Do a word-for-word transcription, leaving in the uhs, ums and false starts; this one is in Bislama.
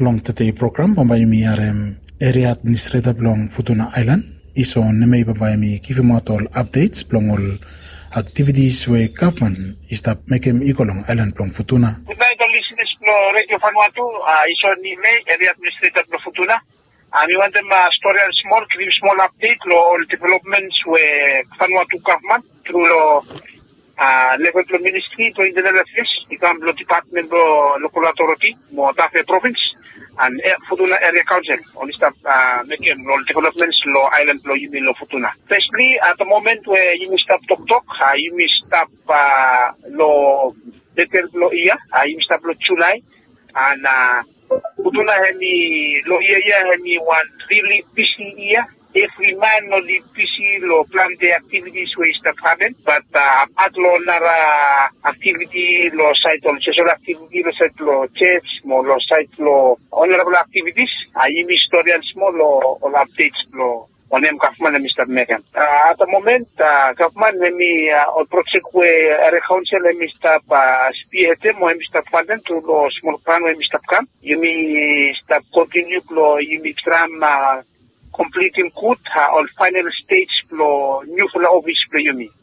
Long tede program bambae yumi harem eria administreta blong Futuna Aelan, Iso Nemei, bambae yumi givimaot ol apdets blong ol aktivitis we gavman i stap mekem i go long aelan blong Futuna. Gudnait ol lisenas blong Redio Vanuatu. Iso Nemei, eria administreta blong Futuna. Mi wantem storian smol, givim smol apdet long ol developments we Vanuatu gavman tru long level blong ministri blong internal afeas i kam long dipatmen blong lokal otoriti mo tafe provins and Futuna eria kaonsel oli stap mekem long ol developments long aelan blong yumi long Futuna. Fesli, at the moment we yumi stap toktok, yumi stap long metel blong yia, yumi stap long Julai. And Futuna hemi long yia ya hemi wan rili bisi yia. Evri man oli bisi long plante aktivitis we i stap hapen, bat apat long nara aktiviti long saed, ol sosol aktiviti long saed long ses mo long saed long ol narafala aktivitis, yumi storian smol long ol apdets blong wanem gavman hemi stap mekem. At the moment gavman hemi, ol projek we eria kaonsel hemi stap spihedem o hemi stap fantem tru long smol gran we hemi stap kam, yumi stap kontiniu blong yumi traem komplitim gud ol faenal stej blong niufala ofis blong yumi. Mi